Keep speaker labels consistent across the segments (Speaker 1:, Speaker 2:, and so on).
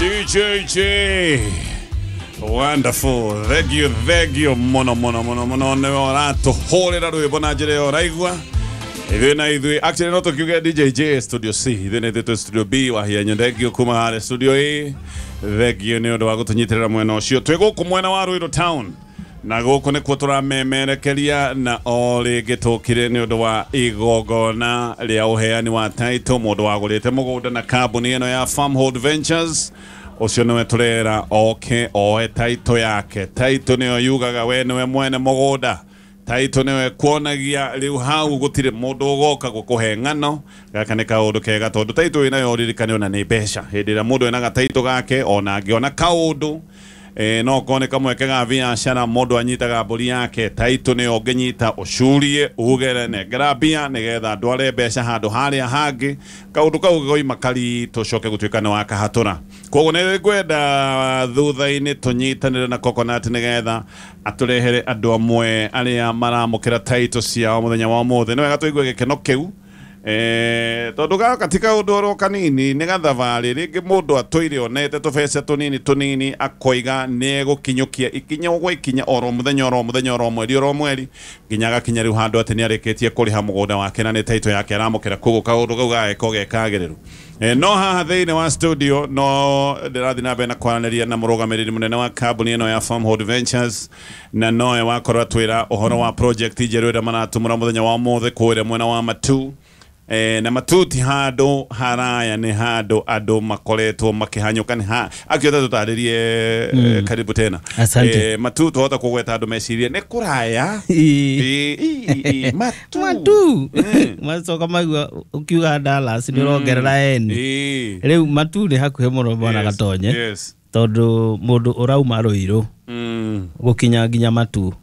Speaker 1: DJJ. Wonderful. Thank you, thank you. Mono, mono, mono, mono. Nĩ ũratũhũrĩra rwĩmbo na njĩra ĩyo ũraigua. Ithuĩ na ithuĩ actually no tũkiuge DJJ studio C, ithuĩ na ithuĩ twĩ studio B. Wahianyo, thank you kuma harĩa studio A. Thank you nĩ ũndũ wa gũtũnyitĩrĩra mwena ũcio. Twĩ gũkũ mwena wa Ruiru town na gũkũ nĩkuo tũramemerekeria na o rĩngĩ tũkire nĩ ũndũ wa igongona rĩa ũheani wa title. Mũndũ wagũrĩte mũgũnda na kambuni ĩno ya Farmhold Ventures, ũcio nĩwe tũrera oke oe title yake. Title nĩyo yugaga we nĩwe mwene mũgũnda. Title nĩwe kuonagia rĩu hau gũtirĩ mũndũ ũgoka gũkũhe ng'ano. Gaka nĩ kaũndũ kega tondũ title ĩnayo ũririkane ona nĩ mbeca. Hĩndĩ ĩrĩa mũndũ ena gataitũ gake ona angĩona kaũndũ no kone kamweke ga biacara, mũndũ anyitaga mbũri yake, title nĩyo ũngĩnyita ũcurie uge nengera mbia nĩgetha ndware mbeca handũ harĩa hangĩ. Kaũndũ kau goima kari tũcoke gũtuĩka nĩ wakahatũra. Koguo nĩ ngwenda thutha-inĩ tũnyitanĩre na Coconut nĩgetha atũrehere andũ amwe arĩa maramũkĩra title ciao mũthenya wa ũmũthĩ. Nĩ wega tũigue gĩkeno kĩu. Tondũ gaka ti kaũndũ oro kanini, nĩ gathabarĩ rĩngĩ mũndũ atũire onete tũbeca tũnini tũnini akoiga nĩ egũkinyũkia ikinya gwa ikinya oro mũthenya oro mũthenya oro mweri oro mweri nginya agakinya rĩu handũ atĩ nĩ arĩkĩtie kũrĩha mũgũnda wake na nĩ title yake aramũkĩra. Koguo kaũndũ kau gagĩkorwo ge kagĩrĩru. No haha thĩinĩ wa studio no ndĩrathiĩ na mbere na kwaranĩria na mũrũgamĩrĩri mũnene wa kambuni ĩno ya Farmhold Ventures, na nowe wakorwo atwĩra ũhoro wa project njerũ ĩrĩa maratumũra mũthenya wa ũmũthĩ kũrĩa mwena wa Matu. Na Matu ti handũ haraya, nĩ handũ andũ makoretwo makĩhanyũka. Nĩ ha akĩota tũtarĩrie. Karibu tena.
Speaker 2: Asante.
Speaker 1: Matu twahota kũgweta andũ mecirie nĩ kũraya. Matu.
Speaker 2: Matu. Macoka maigua ũkiuga Dallas nĩ ũrongerera N. Rĩu Matu nĩ hakuhĩ mũno bwana Gatonye. Tondũ mũndũ ũrauma Ruiru gũkinya nginya Matu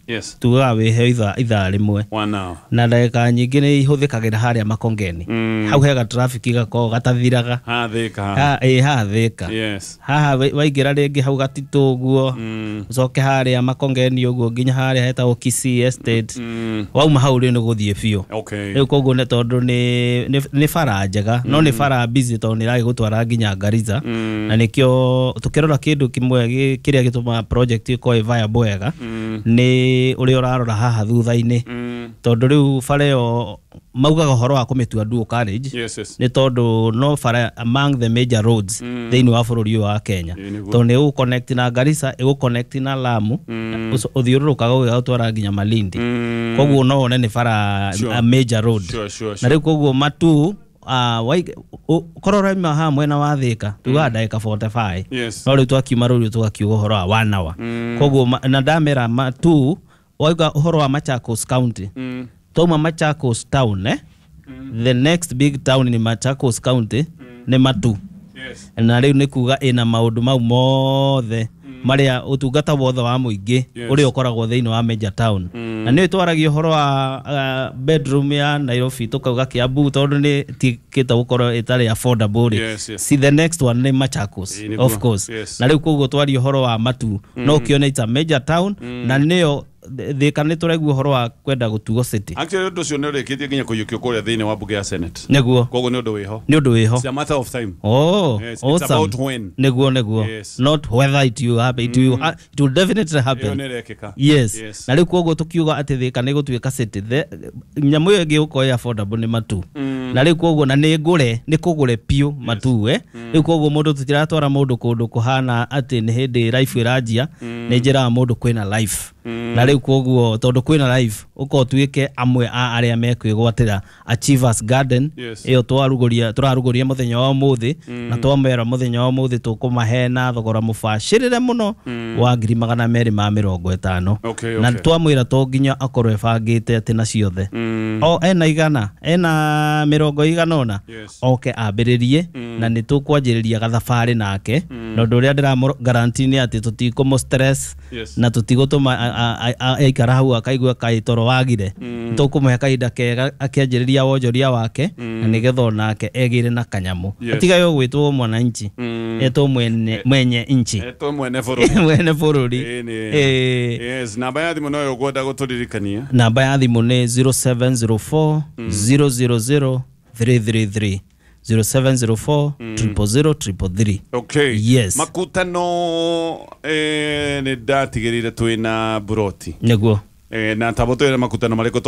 Speaker 2: tugaga wĩhe ithaa rĩmwe.
Speaker 1: 1 hour.
Speaker 2: Na ndagĩka nyingĩ nĩ ihũthĩkagĩra harĩa Makongeni. Hau hega traffic gakoragwo gatathiraga.
Speaker 1: Hathĩka.
Speaker 2: Haha Thĩka. Haha waingĩra rĩngĩ hau Gatitũ ũguo, ũcoke harĩa Makongeni ũguo nginya harĩa hetagwo Kisii Estate. Wauma hau rĩu nĩ gũthiĩ biũ. Rĩu koguo nĩ tondũ nĩ bara njega, no nĩ bara busy tondũ nĩ ĩragĩgũtwara nginya Garissa. Na nĩkĩo tũkĩrora kĩndũ kĩmwe kĩrĩa gĩtũmaga project ĩkorwo ĩ viable wega nĩ ũrĩa ũrarora haha thutha-inĩ. Tondũ rĩu bara ĩyo maugaga ũhoro wa kũmĩtua dual carriage. Nĩ tondũ no bara among the major roads thĩinĩ wa bũrũri ũyũ wa Kenya. Tondũ nĩ ĩgũconnect na Garissa, ĩgũconnect na Lamu, ũthiũrũrũkaga ũgĩgatwara nginya Malindi. Koguo no wone nĩ bara a major road. Na rĩu koguo Matu korwo ũrauma haha mwena wa Thĩka tugaga ndagĩka 45. No rĩu twakiuma rũriũ tũgakiuga ũhoro wa 1 hour. Koguo na ndamera Matu wauga ũhoro wa Machakos County. Twauma Machakos town, the next big town ni Machakos County nĩ Matu. Na rĩu nĩ kuga ĩna maũndũ mau mothe marĩa ũtungata wothe wa mũingĩ ũrĩa ũkoragwo thĩinĩ wa major town. Na nĩ twaragia ũhoro wa bedroom ya Nairobi tũkauga Kiambu tondũ nĩ tikĩte gũkorwo ĩtarĩ affordable rĩ. See, the next one nĩ Machakos, of course. Na rĩu koguo twaria ũhoro wa Matu no ũkĩone it's a major town na nĩyo Thĩka nĩ tũraigua ũhoro wa kwenda gũtuo city.
Speaker 1: Actually ũndũ ũcio nĩ ũrĩkĩtie nginya kũiyũkio kũrĩa thĩinĩ wa mbunge ya Senate.
Speaker 2: Nĩguo.
Speaker 1: Koguo nĩ ũndũ wĩho.
Speaker 2: Nĩ ũndũ wĩho.
Speaker 1: It's a matter of time.
Speaker 2: Oh,
Speaker 1: yes, it's
Speaker 2: awesome.
Speaker 1: About when.
Speaker 2: Nĩguo, nĩguo. Not whether it will happen, it will definitely happen.
Speaker 1: Ĩyo nĩ ĩrekĩka.
Speaker 2: Yes. Na rĩu koguo tũkiuga atĩ Thĩka nĩ gũtuĩka city, nyamũ ĩyo ĩngĩ gũkorwo ĩ affordable nĩ Matu. Na rĩu koguo na nĩ ngũre, nĩ kũgũre biũ Matu, Rĩu koguo mũndũ tũtiratwara mũndũ kũndũ kũhana atĩ nĩ hĩndĩ life ĩranjia, nĩ njĩraga mũndũ kwĩna life. Na rĩu koguo tondũ kwĩna life ũkorwo ũtuĩke amwe a arĩa mekwĩgwatĩra Achievers Garden. Ĩyo tũrarugũria mũthenya wa ũmũthĩ, na twamera mũthenya wa ũmũthĩ tũkũmahe na thogora mũbacĩrĩre mũno wa 250,000. Na twamwĩra to nginya akorwo ebangĩte atĩ na ciothe. O ena igana, ena mĩrongo igana ũna, oke ambĩrĩrie, na nĩ tũkwanjĩrĩria gathabarĩ nake. Na ũndũ ũrĩa ndĩramũ guarantee nĩ atĩ tũtikũmũ stress, na tũtigũtũma aikara hau akaigua kaĩ toro wagire. Tũkũmũhe kahinda kega akĩanjĩrĩria wonjoria wake, na nĩgetha onake egĩre na kanyamũ. Atigae gwĩtwo mwananchi, etwo mwenye nchi.
Speaker 1: Etwo mwene bũrũri.
Speaker 2: Mwene bũrũri.
Speaker 1: Yes, namba ya thimũ no ũkwenda gũtũririkania.
Speaker 2: Namba ya thimũ nĩ 0704 000 333. 0704 000 333.
Speaker 1: Okay.
Speaker 2: Yes.
Speaker 1: Makutano nĩ ndatigĩrĩire twĩna buroti.
Speaker 2: Nĩguo.
Speaker 1: Na tabo twĩna makutano marĩkũ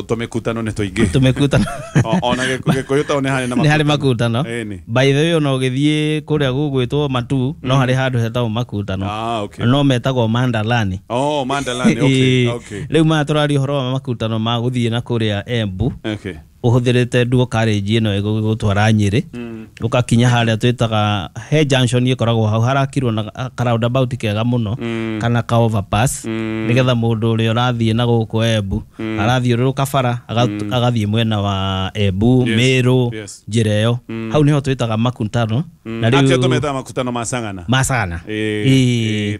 Speaker 1: to mĩkutano nĩ tũingĩ.
Speaker 2: Tũmĩkutano.
Speaker 1: Ona Gĩkũyũ tao nĩ harĩ na
Speaker 2: makutano. Nĩ harĩ makutano. By the way ona ũgĩthiĩ kũrĩa gũgwĩtwo Matu no harĩ handũ hetagwo makutano.
Speaker 1: Ah, okay.
Speaker 2: No metagwo Mandalani.
Speaker 1: Oh, Mandalani. Okay. Okay.
Speaker 2: Rĩu maya tũraria ũhoro wa makutano ma gũthiĩ na kũrĩa Embu.
Speaker 1: Okay.
Speaker 2: Ũhũthĩrĩte duo carriage ĩno ĩgũgũtwara Nyĩrĩ. Ũgakinya harĩa twĩtaga he junction ĩkoragwo hau harakirwo na ka roundabout kega mũno kana ka overpass nĩgetha mũndũ ũrĩa ũrathiĩ na gũkũ Embu arathiũrũrũka bara agathiĩ mwena wa Embu, Meru, njĩra ĩyo. Hau nĩho twĩtaga makutano.
Speaker 1: Na rĩu tũmetaga makutano ma Sagana.
Speaker 2: Ma Sagana.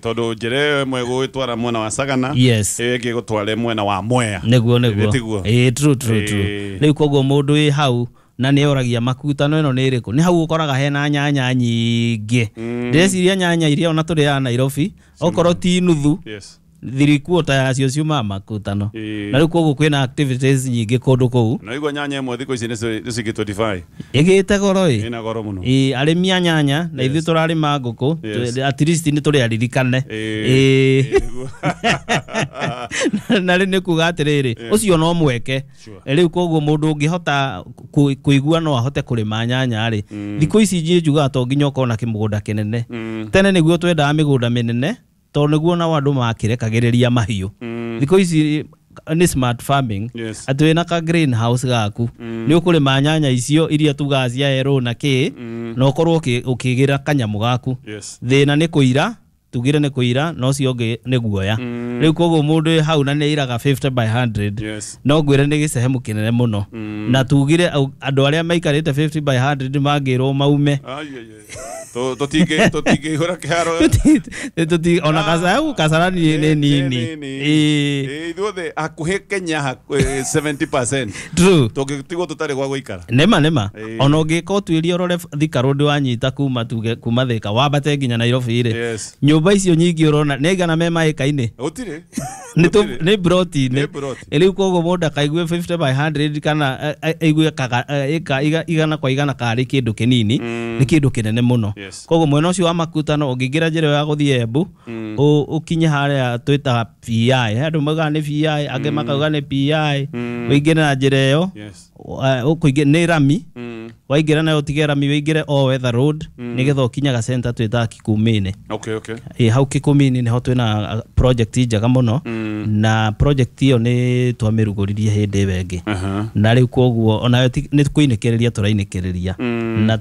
Speaker 1: Tondũ njĩra ĩyo ĩmwe ĩgũgĩtwara mwena wa Sagana, ĩyo ĩngĩ ĩgũtware mwena wa Mwea.
Speaker 2: Nĩguo nĩguo. True true true. Rĩu koguo mũndũ wĩ hau na nĩ oragia makutano ĩno nĩ ĩrĩkũ, nĩ hau ũkoraga hena nyanya nyingĩ. Ndĩreciria nyanya iria ona tũrĩaga Nairobi okorwo ti nuthu, 3/4 yacio ciumaga makutano. Na rĩu koguo kwĩna activities nyingĩ kũndũ kũu.
Speaker 1: Na igua nyanya ĩmwe thikũ ici nĩ ciringi 25.
Speaker 2: Ĩgĩte goro ĩ.
Speaker 1: Ĩna goro mũno.
Speaker 2: Arĩmi a nyanya na ithuĩ tũrarĩma ngũkũ, at least nĩ tũrĩ aririkane. Na rĩu nĩ kuga atĩrĩrĩ, ũcio no mweke. Rĩu koguo mũndũ ũngĩhota kũigua no ahote kũrĩma nyanya rĩ, thikũ ici niĩ njugaga to nginya ũkorwo na kĩmũgũnda kĩnene. Tene nĩguo twendaga mĩgũnda mĩnene tondũ nĩguo nao andũ makĩrekagĩrĩria mahiũ. Thikũ ici nĩ smart farming. Atĩ wĩna ka greenhouse gaku nĩ ũkũrĩma nyanya icio iria tugaga cia erũ na kĩ, na ũkorwo ũkĩgĩra kanyamũ gaku. Thĩna nĩ kũira, tugire nĩ kũira, no ũcio ũngĩ nĩ guoya. Rĩu koguo mũndũ hau na nĩ airaga 50 by 100, no ngwĩre nĩ gĩcehemu kĩnene mũno. Na tugire andũ arĩa maikarĩte 50 by 100 mangĩrwo maume.
Speaker 1: Tũtingĩihũra kĩharo.
Speaker 2: Ona Kasarani nĩ nini.
Speaker 1: Ithuothe hakuhĩ Kenya 70%.
Speaker 2: True.
Speaker 1: Tũngĩtigwo tũtarĩ gwa gũikara.
Speaker 2: Nĩma nĩma. Ona ũngĩka ũtuĩria ũrore Thika Road wanyita kuma tuge kuma Thika wambate nginya Nairobi rĩ. Nyũmba icio nyingĩ ũrona nĩ aigana me maĩka-inĩ?
Speaker 1: Gũtirĩ.
Speaker 2: Nĩ broti-inĩ. Rĩu koguo mũndũ akaigue 50 by 100 kana aigue igana kwa igana karĩ kĩndũ kĩnini, nĩ kĩndũ kĩnene mũno. Koguo mwena ũcio wa makutano ũngĩingĩra njĩra ya gũthiĩ Embu, ũkinye harĩa twĩtaga PI. Andũ maugaga nĩ PI, angĩ makauga nĩ PI. Ũingĩre na njĩra ĩyo, nĩ rami. Waingĩra nayo ũtige rami, ũingĩre o Weather Road nĩgetha ũkinyaga center twĩtaga Kikumini.
Speaker 1: Okay, okay.
Speaker 2: Hau Kikumini nĩho twĩna project njega mũno, na project ĩyo nĩ twamĩrugũririe hĩndĩ ĩyo ĩngĩ. Na rĩu koguo onayo nĩ kũinĩkĩrĩria tũrainĩkĩrĩria, na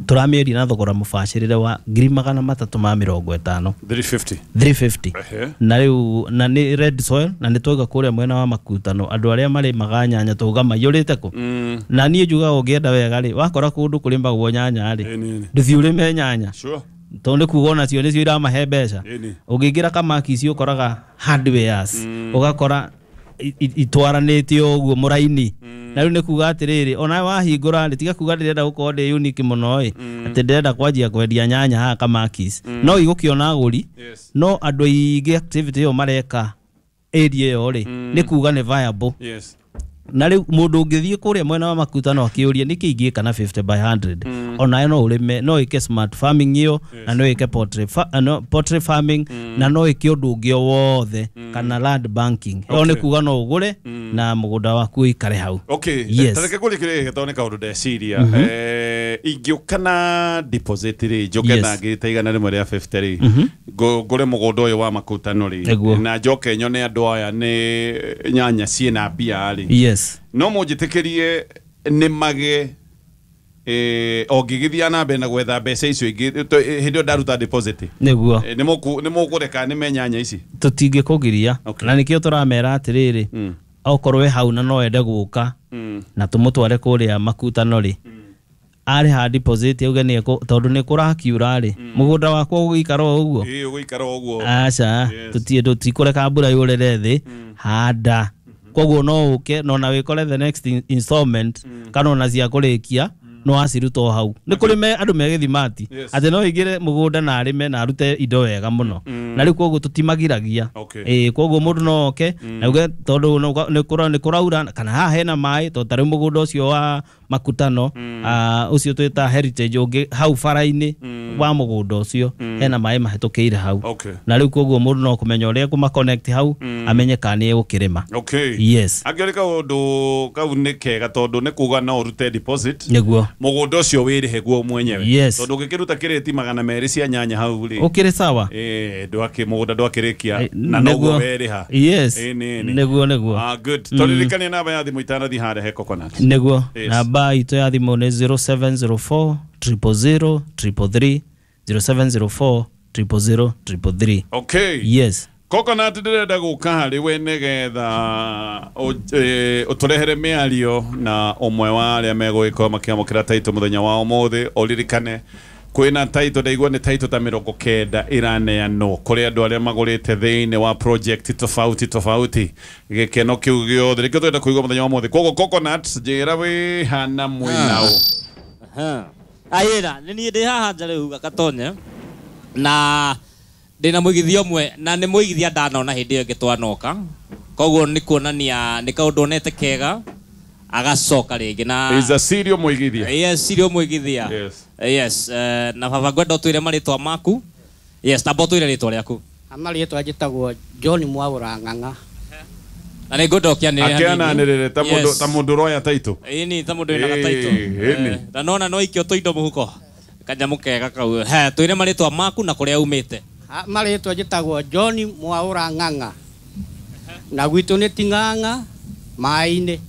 Speaker 2: tũramĩendia na thogora mũbacĩrĩre wa 350,000.
Speaker 1: 350.
Speaker 2: 350. Na rĩu na nĩ red soil, na nĩ twauga kũrĩa mwena wa makutano andũ arĩa marĩmaga nyanya twauga maiyũrĩte kũ. Na niĩ njugaga ũngĩenda wega rĩ, wakora kũndũ kũrĩmagwo nyanya rĩ, ndũthiĩ ũrĩme nyanya. Tondũ nĩ kuga onacio nĩcio iramahe mbeca. Ũngĩingĩra kamaki icio ũkoraga hardwares, ũgakora itwaranĩte ũguo mũraini. Na rĩu nĩ kuga atĩrĩrĩ, ona wahingũra rĩ, tiga kuga ndĩrenda gũkorwo ndĩ unique mũno ĩ, atĩ ndĩrenda kwanjia kwendia nyanya haha kamakis. No igũkĩona agũri, no andũ aingĩ activity ĩyo mareka area ĩyo rĩ, nĩ kuga nĩ viable. Na rĩu mũndũ ũngĩthiĩ kũrĩa mwena wa makutano akĩũria nĩkĩ ingĩka na 50 by 100, onayo no ũrĩme, no ĩke smart farming ĩyo, na no ĩke poultry farming, na no ĩke ũndũ ũngĩ o wothe, kana land banking. Ĩyo nĩ kuga no ũgũre na mũgũnda waku ũikare hau.
Speaker 1: Okay. Tareke kũria kĩrĩa gĩtoo nĩ kaũndũ ndeciria. Ingĩũka na deposit rĩ, njoke na ngiri 100 rĩa 50 rĩ, ngũre mũgũnda ũyũ wa makutano rĩ, na njoke nyone andũ aya nĩ nyanya ciĩna mbia rĩ. No mũnjĩtĩkĩrie nĩ mage ũngĩgĩthiĩ na mbere na gwetha mbeca icio ingĩ hĩndĩ ĩyo ndaruta deposit.
Speaker 2: Nĩguo.
Speaker 1: Nĩ mũkũreka nĩme nyanya ici?
Speaker 2: Tũtingĩkũgiria. Na nĩkĩo tũramera atĩrĩrĩ, okorwo wĩ hau na no wende gũka na tũmũtware kũrĩa makutano rĩ, arĩha deposit auge nĩ tondũ nĩ kũrakiura rĩ, mũgũnda wakwa ũgũikara o ũguo.
Speaker 1: Ũgũikara o ũguo.
Speaker 2: Aca, tũtikũreka mbura yũrĩre thĩ, handa. Koguo no ũke no na wĩkore the next installment kana ona cia kũrĩkia No aciruta o hau. Nĩ kũrĩ andũ me gĩthimati atĩ no aingĩre mũgũnda na arĩme na arute indo wega mũno. Na rĩu koguo tũtimagiragia. Koguo mũndũ no oke na uge tondũ nĩ kũraura kana haha hena maĩ, tondũ ta rĩu mũgũnda ũcio wa makutano ũcio twĩta heritage ũngĩ hau bara-inĩ wa mũgũnda ũcio hena maĩ mahĩtũkĩire hau. Na rĩu koguo mũndũ no kũmenya ũrĩa ekũma connect hau amenye kana nĩ egũkĩrĩma. Yes.
Speaker 1: Angĩrĩ kaũndũ kau nĩ kega tondũ nĩ kuga no ũrute deposit
Speaker 2: nĩguo
Speaker 1: mũgũnda ũcio wĩrĩhe guo mwenyewe. Tondũ ũngĩkĩruta kĩrĩti 200 cia nyanya hau rĩ
Speaker 2: ũkĩrĩ sawa,
Speaker 1: mũgũnda ndwakĩrĩkia na noguo werĩha.
Speaker 2: Yes. Nĩguo nĩguo.
Speaker 1: Good. Tũririkanie namba ya thimũ itanathiĩ harĩa he Coconut.
Speaker 2: Nĩguo namba itũ ya thimũ nĩ 0704 000 333, 0704 000 333.
Speaker 1: Okay.
Speaker 2: Yes.
Speaker 1: Coconut ndĩrenda gũka harĩ we nĩgetha ũtũrehere mĩario na ũmwe wa arĩa megũgĩkorwo makĩamũkĩra taitũ mũthenya wa ũmũthĩ. Ũririkane kwĩna taitũ, ndaigua nĩ taitũ ta 90 ĩraneanwo kũrĩ andũ arĩa magũrĩte thĩinĩ wa project tofauti tofauti. Gĩkeno kĩu gĩothe nĩkĩo tũrenda kũigua mũthenya wa ũmũthĩ. Koguo Coconut, njĩra wĩ hana mwĩnaũ.
Speaker 3: Ayĩra nĩ niĩ ndĩ haha nja rĩu Gatonye na ndĩna mũigithia ũmwe na nĩ mũigithia ndanona hĩndĩ ĩyo ĩngĩ twanoka, koguo nĩ kuonania nĩ kaũndũ onete kega agacoka rĩngĩ na
Speaker 1: is a serial mũigithia.
Speaker 3: Yes, serial mũigithia.
Speaker 1: Yes.
Speaker 3: Yes, na baba ngwenda ũtwĩre marĩtwa maku. Yes, tamba ũtwĩre rĩtwa rĩaku.
Speaker 4: Marĩtwa njĩtagwo John Mwaũra Ng'ang'a.
Speaker 3: Na nĩ ngwenda ũkĩanĩrĩre hanini.
Speaker 1: Akĩananĩrĩre ta mũndũ ũroya taitũ.
Speaker 3: Ĩni ta mũndũ wĩna gataitũ. Na nona no ikio tũindo mũhuko. Kanyamũ kega kau. He, twĩre marĩtwa maku na kũrĩa umĩte.
Speaker 4: Marĩtwa njĩtagwo John Mwaũra Ng'ang'a. Na gwitũ nĩ Ting'ang'a maĩ-inĩ.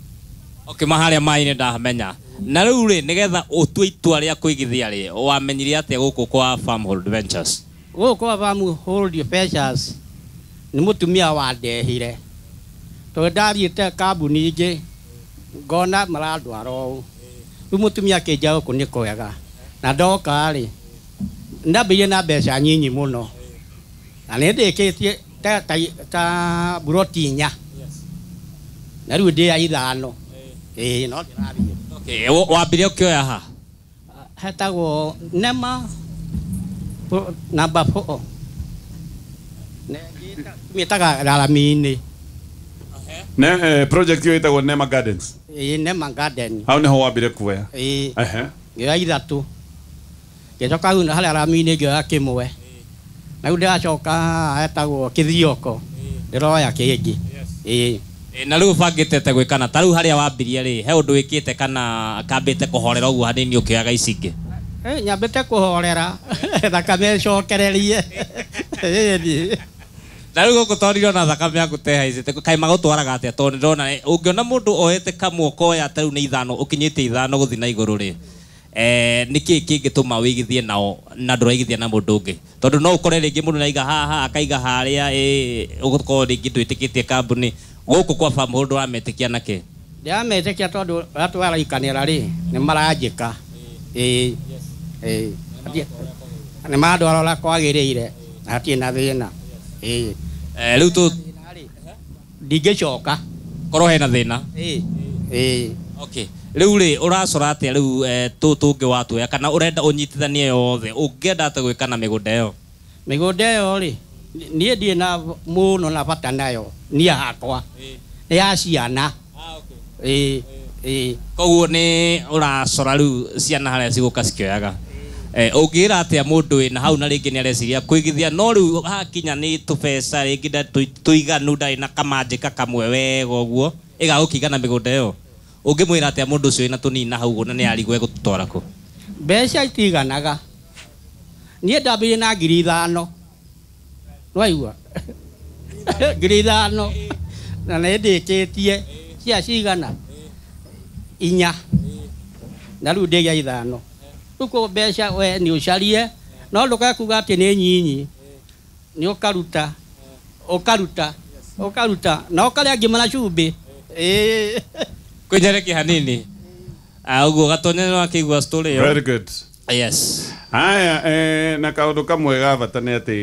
Speaker 3: Okay, maharĩa maĩ-inĩ ndahamenya. Na rĩu rĩ, nĩgetha ũtue itua rĩa kũigithia rĩ, wamenyire atĩa gũkũ kwa Farmhold Ventures?
Speaker 4: Gũkũ kwa Farmhold Ventures nĩ mũtumia wandehire. Tondũ ndathiĩte kambuni ingĩ ngona marandwara ũũ. Rĩu mũtumia akĩnjĩra gũkũ nĩ kwega. Na ndoka rĩ, ndambĩrĩirie na mbeca nyinyi mũno. Na nĩ ndĩkĩtie ta buroti 4. Na rĩu ndĩ ya 5. No ndĩrathiĩ.
Speaker 3: Okay, wambire ũkĩoya ha?
Speaker 4: Hetagwo Nema namba 4. Mĩtaga rarami-inĩ.
Speaker 1: Ne project ĩyo ĩtagwo Nema Gardens.
Speaker 4: Nema Garden.
Speaker 1: Hau nĩho wambire kuoya?
Speaker 4: Ngĩoya 3. Ngĩcoka hau harĩa rami-inĩ ngĩoya 1. Na rĩu ndĩracoka hetagwo Kĩthioko. Ndĩroya kĩngĩ.
Speaker 3: Na rĩu ũbangĩte gwĩkana ta rĩu harĩa wambirie rĩ, he ũndũ wĩkĩte kana kambĩte kũhorera ũguo hanini ũkĩoyaga ici ingĩ?
Speaker 4: Nyambĩte kũhorera thakame ĩcokererie.
Speaker 3: Na rĩu gũkũ tondũ ndĩrona thakame yaku te haicĩte, kaĩ magũtwaraga atĩa? Tondũ ndĩrona ũngĩona mũndũ oete kamwe ũkoya ta rĩu nĩ 5 ũkinyĩte 5 gũthiĩ na igũrũ rĩ, nĩkĩ kĩngĩtũma wĩigithie nao na ndũraigithia na mũndũ ũngĩ? Tondũ no ũkore rĩngĩ mũndũ nĩaiga haha akaiga harĩa, ũgũkorwo rĩngĩ ndwĩtĩkĩtie kambuni. Gũkũ kwa Farmhold ũrametĩkia nakĩ?
Speaker 4: Ndĩrametĩkia tondũ ũrĩa twaraikanĩra rĩ, nĩ maranjĩka. Nĩ marandwara ũrĩa kwagĩrĩire na hatirĩ na thĩna.
Speaker 3: Rĩu tũ
Speaker 4: ndingĩcoka
Speaker 3: korwo hena thĩna. Okay. Rĩu rĩ, ũracora atĩa rĩu tũtũ ũngĩ watuoya kana ũrenda ũnyitithanie yothe? Ũngĩenda atĩa gwĩka na mĩgũnda ĩyo?
Speaker 4: Mĩgũnda ĩyo rĩ, niĩ ndirĩ na mũno na bata nayo, niĩ hakwa. Nĩ ya ciana.
Speaker 3: Koguo nĩ ũracora rĩu ciana harĩa cigũka cikĩoyaga. Ũngĩra atĩa mũndũ wĩna hau na rĩngĩ nĩ areciria kũigithia, no rĩu hakinya nĩ tũbeca rĩngĩ tũiganu ndarĩ na kamanjĩka kamwe wega ũguo ĩgagũkigana mĩgũnda ĩyo, ũngĩmwĩra atĩa mũndũ ũcio wĩna tũnini na hau ũguo na nĩ arigwo egũtũtwara kũ?
Speaker 4: Mbeca itiganaga. Niĩ ndambĩrĩirie na 5,000. Nĩwaigua? 5,000. Na nĩ ndĩkĩtie cia cigana 4. Na rĩu ndĩ gĩa 5. Rĩu koguo mbeca we nĩ ũcarie, no ndũkae kuga atĩ nĩ nyinyi. Nĩ ũkaruta, ũkaruta, ũkaruta, na ũkarĩa ngima na cumbĩ.
Speaker 3: Kwĩnyerekia hanini. Ũguo Gatonye nĩ wakĩigua story ĩyo.
Speaker 1: Very good.
Speaker 3: Yes.
Speaker 1: Haya, na kaũndũ kamwe ga bata nĩ atĩ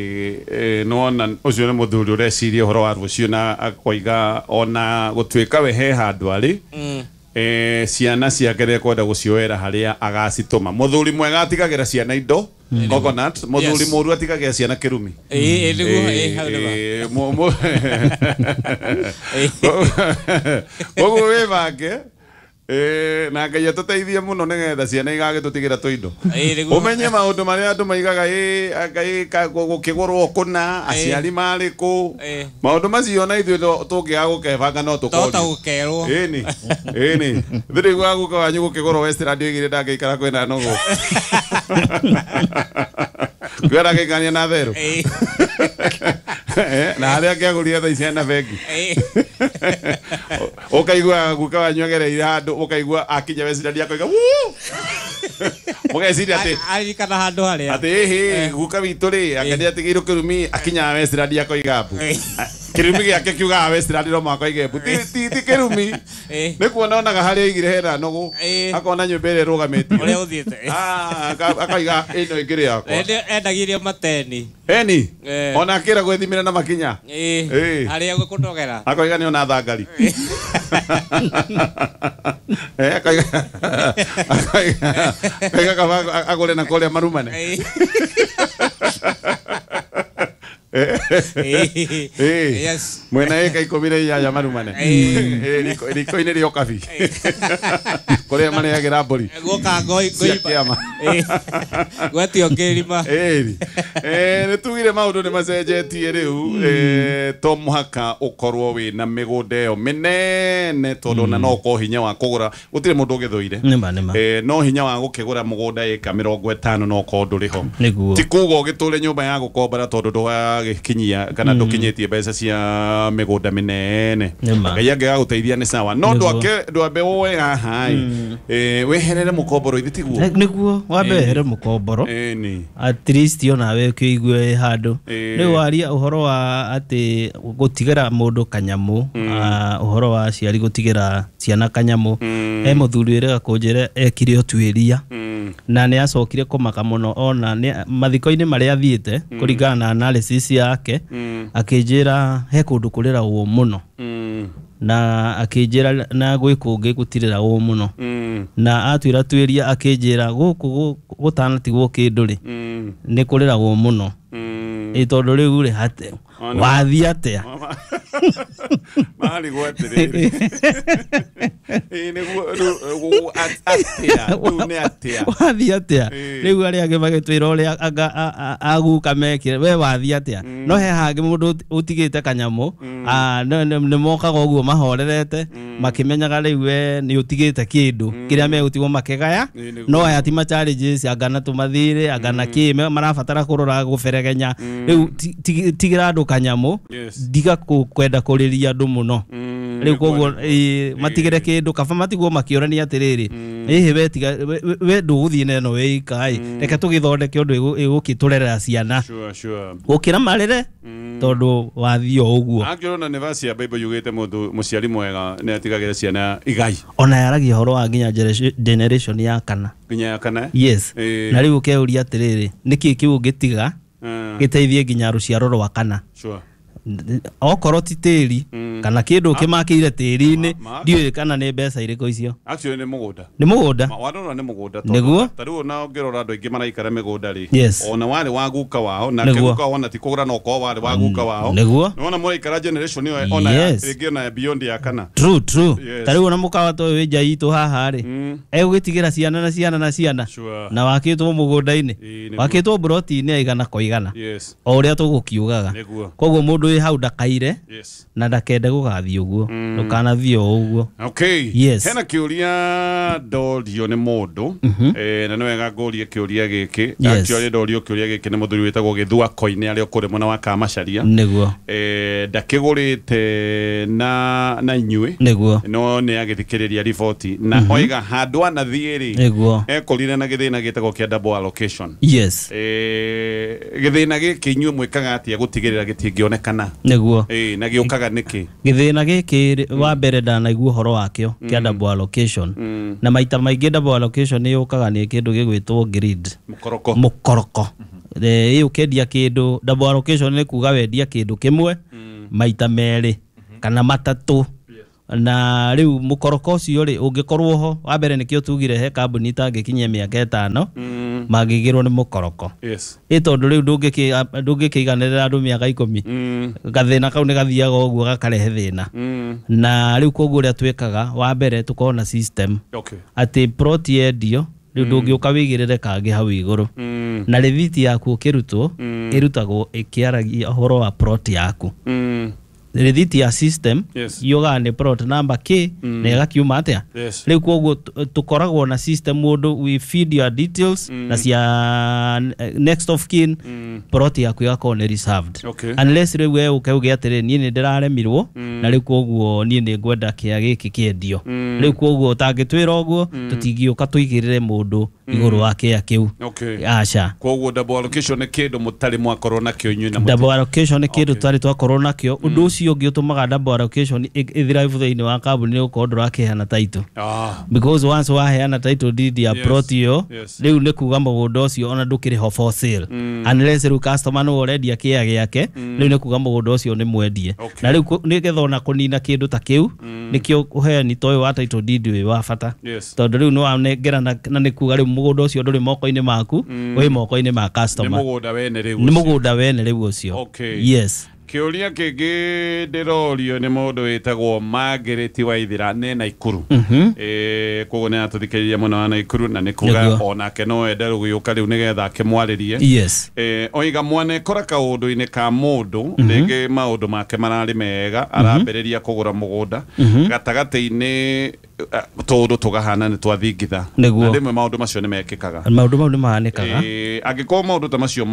Speaker 1: nĩwona ũcio nĩ mũthuri ũreciria ũhoro wa rũciũ na akoiga ona gũtuĩka we he handũ arĩ, Ciana ciake nĩekwenda gũcioera harĩa agacitũma. Mũthuri mwega atigagĩra ciana indo coconut, mũthuri mũru atigagĩra ciana kĩrumi.
Speaker 3: Ĩĩ nĩguo, hau nĩma.
Speaker 1: Koguo wĩbange na Ngai atũteithie mũno nĩgetha ciana igagĩtũtigĩra tũindo. Ũmenye maũndũ marĩa andũ maigaga Ngai gũkĩgũrwo kũna aciari marĩ kũ. Maũndũ macio na ithuĩ tũngĩaga gũkebanga no tũkorio.
Speaker 3: Tota gũkerwo.
Speaker 1: Ĩni. Ĩni. Thĩrĩ gwa guka wanyu gũkĩgũrwo Westland oigire ndangĩikara kwĩna nũgũ. Kwĩra gĩkania na therũ. Na harĩa akĩagũrire thaa ici hena bengi. Ũkaigua guka wanyu agereire handũ ũkaigua akinya Westland akoiga wuu. Mũgeciria atĩ
Speaker 3: aririkana handũ harĩa
Speaker 1: atĩ ĩhĩ guka witũ rĩ anga nĩatigĩirwo kĩrumi akinya Westland akoiga mbu. Kĩrumi gĩake kiugaga Westland no mũhaka oige mbu. Ti kĩrumi. Nĩ kuona onaga harĩa aigire hena nũgũ. Akona nyũmba ĩrĩa ĩrũgamĩtio.
Speaker 3: Ũrĩa ũthiĩte.
Speaker 1: Akaiga ĩno ĩngĩrĩ yakwa.
Speaker 3: Endagirio mateni.
Speaker 1: Eni. Ona akĩra gwĩthimĩra na makinya.
Speaker 3: Harĩa gũkũndogera.
Speaker 1: Akoiga nĩ ona thangari. Akoiga kaba agũre na kũrĩa marumane.
Speaker 3: Yes.
Speaker 1: Mwena ĩka 18 marumane. Riko-inĩ rĩa ũkabi. Kũrĩa marĩagĩra mbũri.
Speaker 3: Guoka ngoi
Speaker 1: cia kĩama.
Speaker 3: Gwetio kĩrima.
Speaker 1: Nĩ tugire maũndũ nĩ macenjetie rĩu. To mũhaka ũkorwo wĩna mĩgũnda ĩyo mĩnene tondũ ona no ũkorwo hinya wa kũgũra gũtirĩ mũndũ ũgĩthũire. No hinya wa gũkĩgũra mũgũnda ĩka 50 no ũkorwo ndũrĩ ho. Ti kuga ũgĩtũre nyũmba ya gũkombora tondũ ndũgagĩkinyia kana ndũkinyĩtie mbeca cia mĩgũnda mĩnene. Ngai angĩgagũteithia nĩ sawa. No ndwambe woe haha ĩ weherere mũkomboro ithi tiguo.
Speaker 2: Nĩguo wambe wehere mũkomboro. At least ona we kĩigue handũ. Rĩu waria ũhoro wa atĩ gũtigĩra mũndũ kanyamũ, ũhoro wa aciari gũtigĩra ciana kanyamũ. He mũthuri wĩrĩga kũnjĩra ekire ũtuĩria na nĩ acokire kũmaka mũno ona mathiko-inĩ marĩa athiĩte kũringana na analysis yake akĩnjĩra he kũndũ kũrĩragwo mũno na akĩnjĩra na gwĩ kũngĩ gũtirĩragwo mũno na atwĩra tuĩria akĩnjĩra gũkũ gũtanatigwo kĩndũ rĩ nĩ kũrĩragwo mũno. Tondũ rĩu rĩ wathiĩ atĩa?
Speaker 1: Marigwo atĩrĩrĩ. Nĩguo atĩa rĩu nĩ atĩa?
Speaker 2: Wathiĩ atĩa? Rĩu arĩa angĩ magĩtwĩra ũrĩa aguka mekire we wathiĩ atĩa? No he hangĩ mũndũ ũtigĩte kanyamũ nĩ mokaga ũguo mahorerete makĩmenyaga rĩu we nĩ ũtigĩte kĩndũ kĩrĩa megũtigwo makĩgaya no aya ti ma challenges anga na tũmathirĩ anga na kĩ marabatara kũrora gũberegenya. Rĩu tigĩra andũ kanyamũ ndiga kwenda kũrĩria andũ mũno. Rĩu koguo matigĩre kĩndũ kaba matigwo makĩũrania atĩrĩrĩ ĩhĩ we tiga we ndũgũthiĩ na ĩno wĩika ĩ reke tũgĩthondeke ũndũ ĩgũkĩtũrerera ciana gũkĩra marĩre tondũ wathiĩ o ũguo.
Speaker 1: Angĩrona nĩ verse ya Bible yugĩte mũndũ mũciari mwega nĩ atigagĩra ciana igai.
Speaker 2: Ona yaragia ũhoro wa nginya generation ya kana.
Speaker 1: Nginya ya kana?
Speaker 2: Yes. Na rĩu ũkeuria atĩrĩrĩ nĩkĩ kĩu ũngĩtiga gĩteithie nginya rũciaro rwa kana. Okorwo ti tĩri kana kĩndũ ũkĩmakĩire tĩri-inĩ ndiũĩ kana nĩ mbeca irĩkũ icio.
Speaker 1: Actually nĩ mũgũnda.
Speaker 2: Nĩ mũgũnda.
Speaker 1: Warora nĩ mũgũnda tondũ ta rĩu ona ũngĩrora andũ aingĩ maraikara mĩgũnda rĩ ona warĩ wa guka wao na guka wao ona ti kũgũra no korwo warĩ wa guka wao. Nĩwona mũraikara generation ĩyo ona rĩngĩ ona beyond ya kana.
Speaker 2: True true. Ta rĩu ona mũkawa ta ũyũ wĩ nja itũ haha rĩ egũgĩtigĩra ciana na ciana na ciana na wakĩtwo mũgũnda-inĩ wakĩtwo mburoti-inĩ ya igana kwa igana o ũrĩa tũgũkiugaga. Koguo mũndũ hau ndakaire na ndakende gũgathiĩ ũguo ndũkanathiĩ o ũguo.
Speaker 1: Okay.
Speaker 2: Yes.
Speaker 1: Hena kĩũria ndorio nĩ mũndũ na nĩ wega ngũrie kĩũria gĩkĩ. Actually ndorio kĩũria gĩkĩ nĩ mũthuri wĩtagwo Gĩthua Koine arĩa ũkũrĩ mwena wa Kamacharia.
Speaker 2: Nĩguo.
Speaker 1: Ndakĩgũrĩte na inyuĩ.
Speaker 2: Nĩguo.
Speaker 1: No nĩ agĩthikĩrĩria riboti na oiga handũ anathiĩ rĩ ekorire na gĩthĩna gĩtagwo kĩa double allocation.
Speaker 2: Yes.
Speaker 1: Gĩthĩna gĩkĩ inyuĩ mwĩkaga atĩa gũtigĩrĩra gĩtingĩonekana?
Speaker 2: Nĩguo.
Speaker 1: Na gĩũkaga nĩkĩ?
Speaker 2: Gĩthĩna gĩkĩ wa mbere ndanaigua ũhoro wakĩo kĩa double allocation. Na maita maingĩ double allocation nĩ yũkaga nĩ kĩndũ gĩgwĩtwo greed.
Speaker 1: Mũkoroko.
Speaker 2: Mũkoroko. Ĩ ũkĩendia kĩndũ double allocation nĩ kuga wendia kĩndũ kĩmwe maita merĩ kana matatũ. Na rĩu mũkoroko ũcio rĩ ũngĩkorwo ho wa mbere nĩkĩo tugire he kambuni itangĩkinyia mĩaka 5 mangĩgĩrwo nĩ mũkoroko.
Speaker 1: Yes.
Speaker 2: Ĩ tondũ rĩu ndũngĩkĩiganĩrĩra andũ mĩaka 10. Gathĩna kau nĩ gathiaga ũguo gakarehe thĩna. Na rĩu koguo ũrĩa twĩkaga wa mbere tũkorwo na system.
Speaker 1: Okay.
Speaker 2: Atĩ plot yendio rĩu ndũngĩũka wĩigĩrĩre kangĩ hau igũrũ. Na rĩthiti yaku ũkĩrutwo ĩrutagwo ĩkĩaragia ũhoro wa plot yaku. Rĩthiti ya system yugaga nĩ plot number K na ĩgakiuma atĩa. Rĩu koguo tũkoragwo na system mũndũ we feed your details na cia next of kin plot yaku ĩgakorwo nĩ reserved.
Speaker 1: Okay.
Speaker 2: Unless rĩu we ũke uge atĩrĩ niĩ nĩ ndĩraremirwo na rĩu koguo niĩ nĩ ngwenda kĩa gĩkĩ kĩendio. Rĩu koguo ũtangĩtwĩra ũguo tũtingĩũka tũigĩrĩre mũndũ igũrũ wa kĩa kĩu.
Speaker 1: Okay.
Speaker 2: Aca.
Speaker 1: Koguo double allocation nĩ kĩndũ mũtarĩ mwakorwo nakĩo inyuĩ na
Speaker 2: double allocation nĩ kĩndũ tũtarĩ twakorwo nakĩo. Ũndũ ũcio ũngĩ ũtũmaga double allocation ĩthirabu thĩinĩ wa kambuni nĩ gũkorwo ndũrakĩheana title. Because once waheana title deed ya plot ĩyo rĩu nĩ kuga mũgũnda ũcio ona ndũkĩrĩ ho for sale. Unless rĩu customer nĩwe ũrendia kĩa gĩake rĩu nĩ kuga mũgũnda ũcio nĩ mwendie. Na rĩu nĩgetha ona kũnina kĩndũ ta kĩu nĩkĩo ũheani ta ũyũ wa title deed wĩ wa bata. Tondũ rĩu nĩ wanengera na nĩ kuga rĩu mũgũnda ũcio ndũrĩ moko-inĩ maku wĩ moko-inĩ ma customer.
Speaker 1: Nĩ mũgũnda wene rĩu
Speaker 2: ũcio. Nĩ mũgũnda wene rĩu ũcio.
Speaker 1: Okay.
Speaker 2: Yes.
Speaker 1: Kĩũria kĩngĩ ndĩrorio nĩ mũndũ wĩtagwo Margaret Waithira nĩ Naikuru. Koguo nĩ atũthikĩrĩria mũno wa Naikuru na nĩ kuga onake no ende gũgĩũka rĩu nĩgetha akĩmwarĩrie.
Speaker 2: Yes.
Speaker 1: Oiga mwanekora kaũndũ-inĩ ka mũndũ rĩngĩ maũndũ make mararĩ mega arambĩrĩria kũgũra mũgũnda gatagatĩ-inĩ tũndũ tũgahana nĩ twathingitha. Na rĩmwe maũndũ macio nĩ mekĩkaga.
Speaker 2: Maũndũ mau nĩ mahanĩkaga.
Speaker 1: Angĩkorwo maũndũ ta macio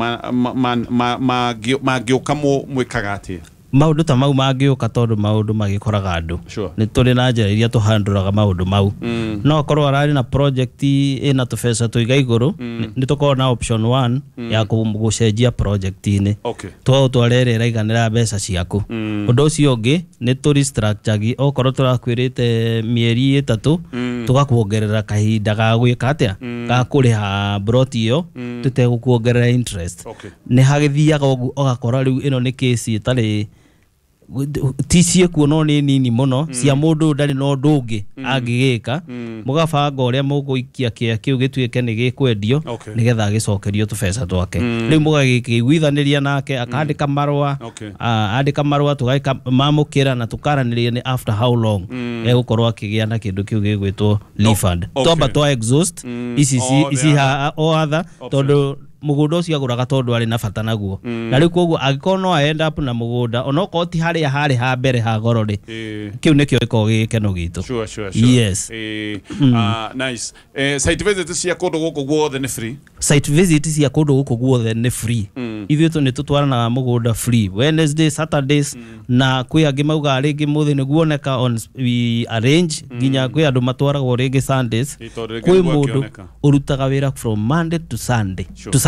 Speaker 1: mangĩũka mwĩkaga atĩa?
Speaker 2: Maũndũ ta mau mangĩũka tondũ maũndũ magĩkoraga andũ. Nĩ tũrĩ na njĩra iria tũhandũraga maũndũ mau. No akorwo ararĩ na project ĩna tũbeca tũiga igũrũ nĩ tũkorwo na option 1 ya gũcenjia project-inĩ. Twaũtwara ĩrĩa ĩraiganĩra mbeca ciaku. Ũndũ ũcio ũngĩ nĩ tũ restructure okorwo tũrakwĩrĩte mĩeri 3 tũgakuongerera kahinda ga gwĩka atĩa ga kũrĩha plot ĩyo tũtegũkuongerera interest. Nĩ hagĩthiaga ũguo ũgakora rĩu ĩno nĩ case ĩtarĩ ti ciĩkuo no nĩ nini mũno cia mũndũ ndarĩ na ũndũ ũngĩ angĩgĩka mũgabanga ũrĩa mũgũikia kĩa kĩu gĩtuĩke nĩ gĩkwendio nĩgetha agĩcokerio tũbeca twake. Rĩu mũgagĩkĩiguithanĩria nake akandĩka marũa andĩka marũa tũgamamũkĩra na tũkaranĩria nĩ after how long egũkorwo akĩgĩa na kĩndũ kĩu gĩgwĩtwo refund. Twamba twa exhaust ici o other tondũ mũgũnda ũcio agũraga tondũ arĩ na bata naguo. Na rĩu koguo angĩkorwo no end up na mũgũnda onokorwo ti harĩa harĩ ha mbere ha goro rĩ kĩu nĩkĩo gĩkoragwo gĩ gĩkeno gitũ.
Speaker 1: Sure.
Speaker 2: Yes.
Speaker 1: Nice. Site visit cia kũndũ gũkũ guothe nĩ free?
Speaker 2: Site visit cia kũndũ gũkũ guothe nĩ free. Ithuĩ nĩ tũtwaranaga mũgũnda free Wednesday, Saturdays na kwĩ angĩ maugaga rĩngĩ mũthĩ nĩguoneka on we arrange nginya kwĩ andũ matwaragwo rĩngĩ Sundays. Kwĩ mũndũ ũrutaga wĩra from Monday to Sunday to Saturday.